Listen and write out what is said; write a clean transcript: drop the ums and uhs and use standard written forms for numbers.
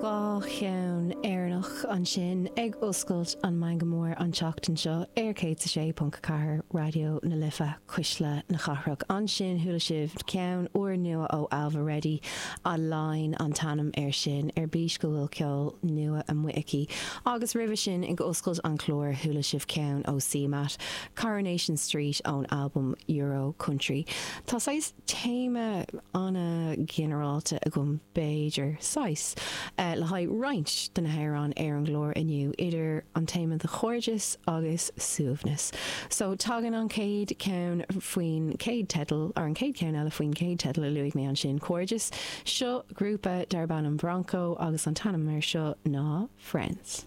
2 cheann Éireannach ansin ag oscailt an Meangadh Mór an tseachtain seo ar 106.4 Raidió na Life, Cuisle na Cathrach. Ansin chuala sibh ceann úrnua ó Ailbhe Reddy, Align an t-ainm air sin, ar bís go bhfuil ceol nua amuigh aici. Agus roimhe sin ag oscailt an chláir chuala sibh ceann ó CMAT, Coronation Street ón albam Euro Country. Tá saghas téama an-ghinearálta agam, b'fhéidir, saghas, le haghaidh roinnt de na hamhráin ar an gclár inniu, idir an téama de chairdeas agus suaimhneas. So, tagann an chéad cheann faoin chéad teideal, or an chéad cheann eile faoin chéad teideal a luaigh mé ansin, cairdeas. Seo grúpa darb ainm Bronco agus an t-ainm air seo ná Friends.